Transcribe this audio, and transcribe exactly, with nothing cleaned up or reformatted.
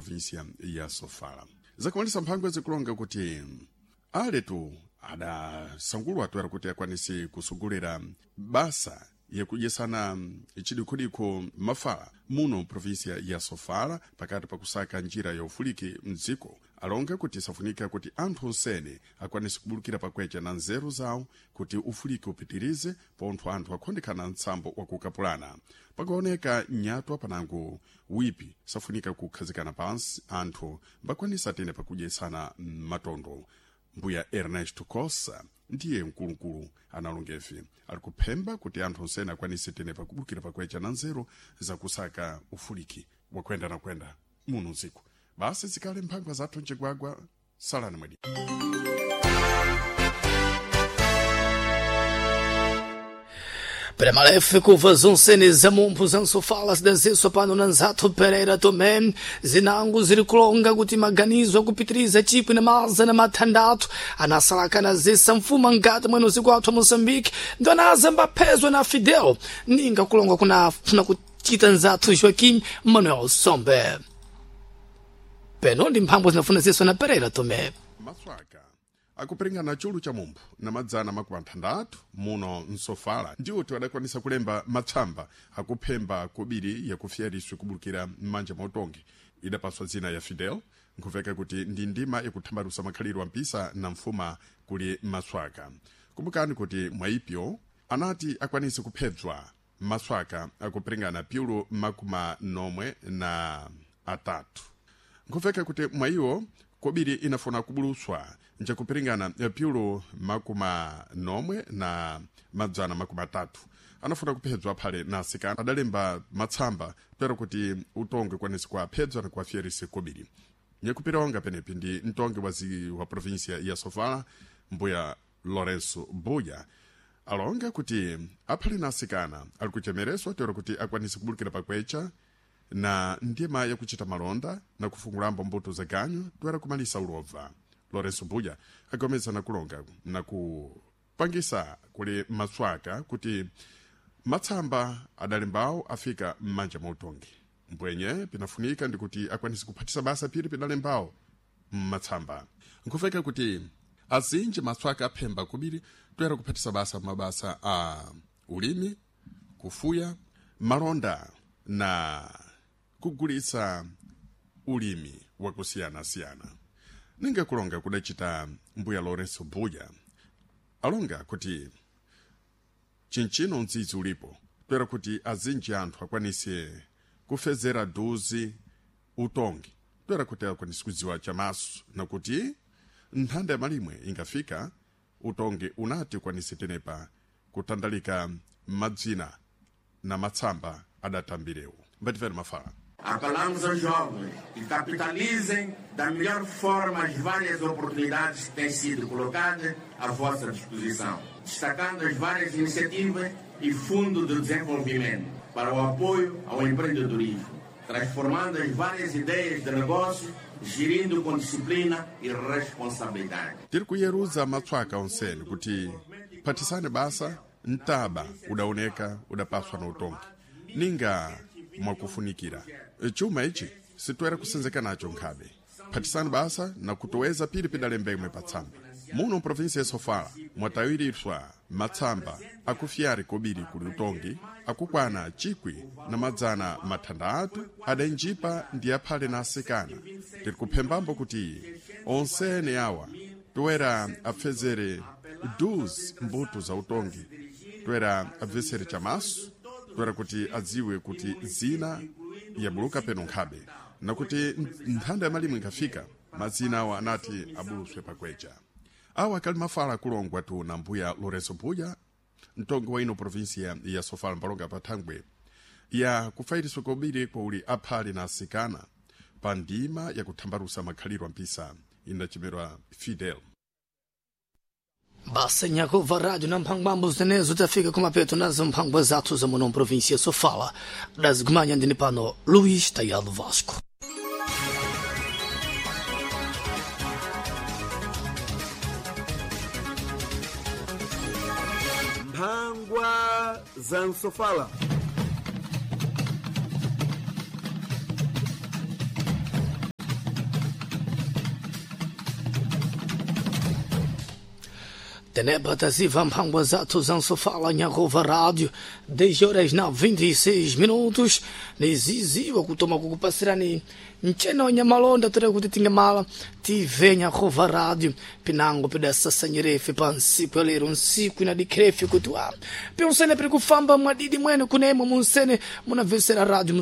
Província ya Sofala. Zakumalisa mphangwa zikulonga kuti aletu adasangulwa toera kuti akwanise kusogolera basa yakudyesana chidikhudikho mafala muno província ya Sofala pakati pakusaka njira ya ufuliki mdziko. Alonga kuti safunika kuti anthu onsene akwanise kubulukira pakwecha na nzeru zawo kuti ufuliki upitirize pontho anthu akhondekana mtsambo wakukapulana. Pakaoneka nyatwa panango wipi safunika kukhazikana pansi anthu mbakwanisa tene pakudyesana matondo. Mbuya Ernesto Cossa ndiye mkulukulu analongevi ali kuphemba kuti anthu onsene akwanise tene pakubulukira pakwecha na nzeru zakusaka ufuliki wakwenda na kwenda muno mdziko. Basi zikale mphangwa zathu mcigwagwa salani mwedi. Premalefe kuva zonsene zamumphu zansofala zidazenso pano na Nzathu Pereira Tomé zinango ziri kulonga kuti maganizo akupitiriza chikwi na mazana mathandathu anasalakana zisa mfuma mkati mwene usiku athu wa Moçambique ndo anazambaphezwa na Fidel ninga kulonga kunafuna kuchita Nzathu Joaquim Manuel Sombe. Peno ndi mphangwa zinafuna zinso na Pereira Tomé. Maswaka akuperingana chulu cha mumphu na madzana makumi athandathu muno msofala ndiwo adakwanisa kulemba matsamba akuphemba kobiri yakufyariswe kubulukira m'manja mwa utongi idapaswa dzina ya Fidel nkhuveka kuti ndi ndima yakuthambalusa makhalidwe ampisa na mfuma kuli maswaka. Kumbukani kuti mwaipyo anati akwanise kuphedzwa maswaka akuperingana piulu makumi nomwe na atatu. Nkhuveka kuti mwayiwo kobiri inafuna kubuluswa njakupiringana piulu makuma nomwe na madzana makumi atatu anafuna kuphedzwa phale na asikana adalemba matsamba pero kuti utongi ukwanise kuaphedzwa na kuafyerise kobiri. Nyakupiraonga penepi ndi mtongi wazi wa província ya Sofala mbuya Lourenço Buya alonga kuti aphale na asikana ali kuchemereswa tero kuti akwanise kubulukira pakwecha na ndima yakuchita malonda na kufungulambo mbuto za ganyu toera kumalisa ulova. Lourenço Buya agomeza na kulonga na kupangisa kuli maswaka kuti matsamba adalembawo afika m'manja mwa utongi mbwenye pinafunika ndikuti akwanise kuphatisa basa phiri pidalembawo mmatsamba. Nkhuveka kuti azinji maswaka aphemba kubiri toera kuphatisa basa mabasa a ulimi, kufuya, malonda na kugulitsa ulimi wakusiyanasiyana. Ninga kulonga kudachita mbuya Lourenço Buya alonga kuti chinchino mdzidzi ulipo toera kuti azinji anthu akwanise kufezera duzi utongi toera kuti akwanise kudziwa chamaso nakuti nthanda ya malimwe ingafika utongi unati ukwanise tenepa kutandalika madzina na matsamba adatambirewo. Mbatifere mafala. Apelamos aos jovens que capitalizem da melhor forma as várias oportunidades que têm sido colocadas à vossa disposição, destacando as várias iniciativas e fundo de desenvolvimento para o apoio ao empreendedorismo, transformando as várias ideias de negócio, gerindo com disciplina e responsabilidade. Tiri kuyeruza matswaka onsene kuti phathisane basa mtaba udaoneka udapaswa na utongi ninga mwakufunikira chuma ichi sitoera kusenzeka nacho nkhabe. Phathisani basa na kutoweza pili pidalembemwe patsamba muno província ya Sofala mwatawiriswa matsamba akufyari kobiri kuli utongi akukwana chikwi na madzana mathandathu adainjipa ndi aphale na asikana. Tiri kuphembambo kuti onsene awa toera apfezere duzi mbuto za utongi toera abvesere chamaso toera kuti adziwe kuti zina yabuluka peno nkhabe nakuti nthanda ya malimwe inkafika madzina awa anati abuluswe pakwecha. Awa akali mafala akulongwa tu na mbuya Lourenço Buya mtongi wa ino província ya Sofala mpalonga pa thangwe ya kufairiswa kobiri kwa uli aphale na asikana pa ndima yakuthambalusa makhalidwe ampisa inachemerwa Fidel. Basa nyakuva rádio na mphangwambo zinezo tafika kumapeto nazo mphangwa zathu za muno província Sofala dazigumanya ndini pano Luís Tayado Vasco. Mphangwa za Nsofala. Teneba taziva mphangwa zathu za Nsofala Nyakhova Rádio, dez horas na vinte e seis minutos, niziziwa kutoma kukupasirani mcheno nyamalonda tere kuti tingamala T V Nyakhova Rádio pinango pidasasanyirefe pa nsiku ya lero, nsiku inadikhirefe kuti wa piunsene piri kufamba mwadidi mwene kunemwe munsene munabvesera rádio.